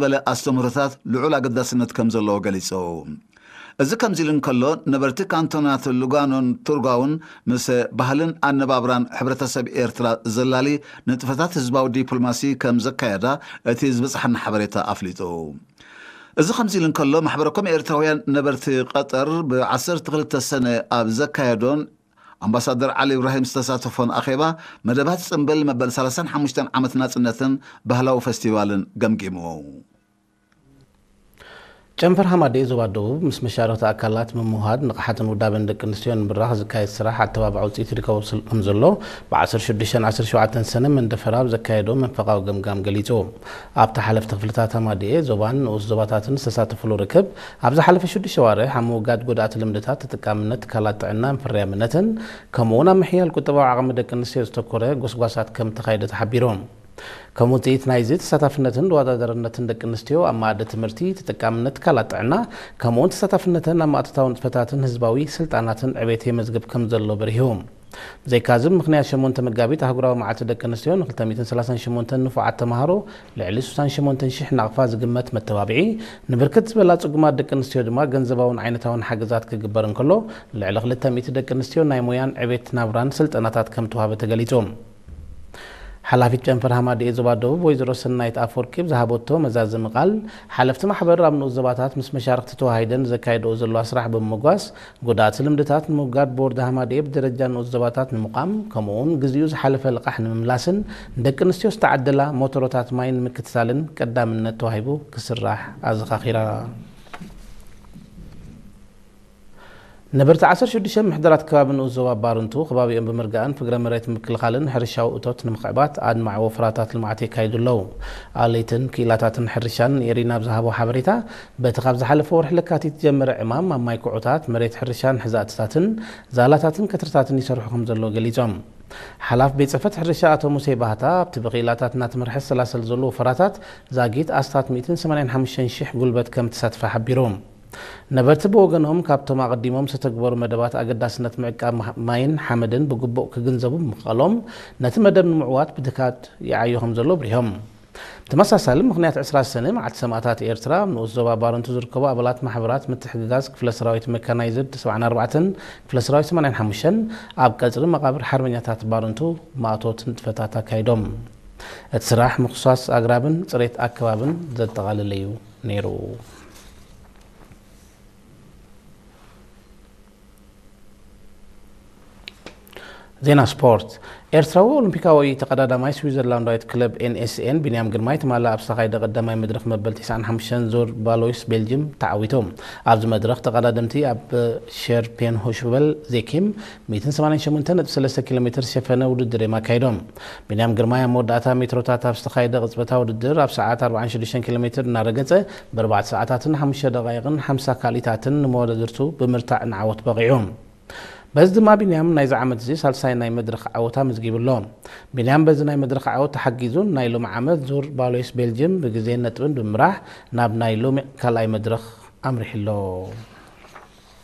ዝበለ ኣስተምህሮታት ልዑል ኣገዳስነት ከም ዘለዎ ገሊጹ። እዚ ከምዚ ኢሉ እንከሎ፣ ነበርቲ ካንቶናት ሉጋኖን ቱርጓውን ምስ ባህልን ኣነባብራን ሕብረተሰብ ኤርትራ ዘላሊ ንጥፈታት ህዝባዊ ዲፕሎማሲ ከም ዘካየዳ እቲ ዝበጽሓና ሓበሬታ ኣፍሊጡ። እዚ ከምዚ ኢሉ እንከሎ፣ ማሕበረ ኮም ኤርትራውያን ነበርቲ ቀጠር ብ ዓሰርተ ክልተ ሰነ ኣብ ዘካየዶን ኣምባሳደር ዓሊ ኢብራሂም ዝተሳተፎን ኣኼባ፣ መደባት ጽምብል መበል ሰላሳን ሓሙሽተን ዓመት ናጽነትን ባህላዊ ፈስቲቫልን ገምጊሙ። ጨንፈር ሃማደኤ ዞባ ደቡብ ምስ መሻርኽቲ ኣካላት ምምውሃድ ንቕሓትን ውዳበን ደቂ ኣንስትዮ ንምብራኽ ዝካየድ ስራሕ ኣተባባዕ ውፅኢት ይርከቦ ስል-፣ ከም ዘሎ ብዓሰርተ ሽዱሽተን ዓሰርተ ሸውዓተን ሰነ መንደፈራ ኣብ ዘካየዶ መንፈቓዊ ገምጋም ገሊጹ። ኣብቲ ሓለፍቲ ክፍልታት ሃማደኤ ዞባን ንኡስ ዞባታትን ዝተሳተፍሉ ርክብ፣ ኣብ ዝሓለፈ ሽዱሽተ ዋርሕ ኣብ ምውጋድ ጎዳእቲ ልምድታት ተጠቃምነት ትካላት ጥዕናን ፍርያምነትን፣ ከምኡውን ኣብ ምሕያል ቁጠባዊ ዓቕሚ ደቂ ኣንስትዮ ዝተኮረ ጎስጓሳት ከም ተኻየደ ተሓቢሩ። ከም ውፅኢት ናይዚ ተሳታፍነትን ተወዳዳርነትን ደቂ ኣንስትዮ ኣብ መኣዲ ትምህርቲ፣ ተጠቃምነት ትካላት ጥዕና፣ ከምኡውን ተሳታፍነተን ኣብ ማእቶታዊ ንጥፈታትን ህዝባዊ ስልጣናትን ዕቤት የመዝግብ ከም ዘሎ በሪሁ። ብዘይካዚ፣ ብምኽንያት ሸሞንተ መጋቢት ኣህጉራዊ መዓልቲ ደቂ ኣንስትዮ፣ ን ክልተ ሚእትን ሰላሳን ሸሞንተን ንፉዓት ተምሃሮ ልዕሊ ስሳን ሸሞንተን ሽሕ ናቕፋ ዝግመት መተባብዒ፣ ንብርክት ዝበላ ጽጉማት ደቂ ኣንስትዮ ድማ ገንዘባውን ዓይነታውን ሓገዛት ክግበር እንከሎ፣ ልዕሊ ክልተ ሚእቲ ደቂ ኣንስትዮ ናይ ሞያን ዕቤት ናብራን ስልጠናታት ከም ተዋህበ ተገሊጹ። ሓላፊት ጨንፈር ሃማደኤ ዞባ ደቡብ ወይዘሮ ሰናይት ኣፈወርቂ ብዝሃበቶ መዛዘሚ ቃል፣ ሓለፍቲ ማሕበር ኣብ ንኡስ ዞባታት ምስ መሻርኽቲ ተዋሃሂደን ዘካየድኦ ዘለዋ ስራሕ ብምምጓስ፣ ጎዳእቲ ልምድታት ንምውጋድ ቦርድ ሃማደኤ ብደረጃ ንኡስ ዞባታት ንምቋም፣ ከምኡውን ግዜኡ ዝሓለፈ ልቓሕ ንምምላስን ንደቂ ኣንስትዮ ዝተዓደላ ሞተሮታት ማይ ንምክትታልን ቀዳምነት ተዋሂቡ ክስራሕ ኣዘኻኺራ። ነበርቲ ዓሰርተ ሽዱሽተ ምሕደራት ከባቢ ንኡስ ዞባ ባርንቱ፣ ከባቢኦም ብምርጋእን ፍግረ መሬት ምክልኻልን ሕርሻዊ እቶት ንምኽዕባት ኣድማዒ ወፈራታት ልምዓት የካይዱ ኣለዉ። ኣለይትን ክኢላታትን ሕርሻን ንኤሪና ብዝሃቦ ሓበሬታ፣ በቲ ካብ ዝሓለፈ ወርሒ ለካቲት ዝጀመረ ዕማም ኣብ ማይ ኩዖታት፣ መሬት ሕርሻን ሕዛእትታትን ዛላታትን ከትርታትን ይሰርሑ ከም ዘለዉ ገሊጾም። ሓላፍ ቤት ጽሕፈት ሕርሻ ኣቶ ሙሴ ባህታ፣ ኣብቲ ብክኢላታት እናተመርሐ ዝሰላሰል ዘሎ ወፈራታት ዛጊት ኣስታት ሚእትን ሰማንያን ሓሙሽተን ሽሕ ጉልበት ከም ተሳትፈ ሓቢሩ። ነበርቲ ብወገኖም፣ ካብቶም ኣቐዲሞም ዝተግበሩ መደባት ኣገዳስነት ምዕቃብ ማይን ሓመድን ብግቡእ ክግንዘቡ ብምኽኣሎም፣ ነቲ መደብ ንምዕዋት ብትካት ይዓዩ ከም ዘሎ ኣብሪሆም። ብተመሳሳሊ፣ ምኽንያት ዕስራ ሰነ፣ መዓልቲ ሰማእታት ኤርትራ፣ ኣብ ንኡስ ዞባ ባረንቱ ዝርከቡ ኣባላት ማሕበራት ምትሕግጋዝ ክፍለ ሰራዊት መካናይዝድ ሰብዓን ኣርባዕተን ክፍለ ሰራዊት ሰማንያን ሓሙሽተን ኣብ ቀጽሪ መቓብር ሓርበኛታት ባረንቱ ማእቶት ንጥፈታት ኣካይዶም። እቲ ስራሕ ምኹሳስ ኣግራብን ጽሬት ኣከባብን ዘጠቓለለ እዩ ነይሩ። ዜና ስፖርት። ኤርትራዊ ኦሎምፒካዊ ተቐዳዳማይ ስዊዘርላንዳዊት ክለብ ኤን ኤስ ኤን ቢንያም ግርማይ ትማሊ ኣብ ዝተኻየደ ቀዳማይ መድረኽ መበል ተስዓን ሓሙሽተን ዙር ቫሎይስ ቤልጅም ተዓዊቱ። ኣብዚ መድረኽ ተቐዳደምቲ ኣብ ሸርፔንሆሽበል ዜኪም ሚእትን ሰማንያን ሸሞንተን ነጥቢ ሰለስተ ኪሎ ሜትር ዝሸፈነ ውድድር እዮም ኣካይዶም። ቢንያም ግርማይ ኣብ መወዳእታ ሜትሮታት ኣብ ዝተኻየደ ቅጽበታዊ ውድድር ኣብ ሰዓት ኣርባዓን ሽዱሽተን ኪሎ ሜትር እናረገጸ ብኣርባዕተ ሰዓታትን ሓሙሽተ ደቓይቕን ሓምሳ ካልኢታትን ንመወዳድርቱ ብምርታዕ ንዓወት በቒዑ። በዚ ድማ ቢንያም ናይዚ ዓመት እዚ ሳልሳይ ናይ መድረኽ ዓወት ኣመዝጊቡ ኣሎ። ቢንያም በዚ ናይ መድረኽ ዓወት ተሓጊዙ ናይ ሎሚ ዓመት ዙር ቫሎይስ ቤልጅም ብግዜን ነጥብን ብምምራሕ ናብ ናይ ሎሚ ካልኣይ መድረኽ ኣምሪሑ ኣሎ።